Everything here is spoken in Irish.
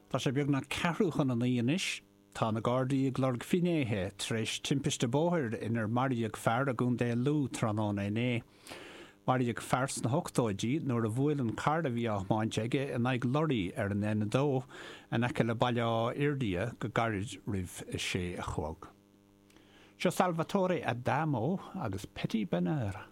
Tá sé beagnach ceathrú chun a 9 anois. Tá na Gardaí ag lorg finnéithe tar éis timpiste bóthair inar maraíodh fear i gContae Lú tráthnóna inné. Maraíodh fear sna hochtóidí nuair a bhuail an carr a bhí á thiomáint aige in aghaidh lorraí ar an N2 in aice le Baile Átha Fhirdhia go gairid roimh a sé a chlog. Seo Salvatore Adamo agus Petit Bonheur.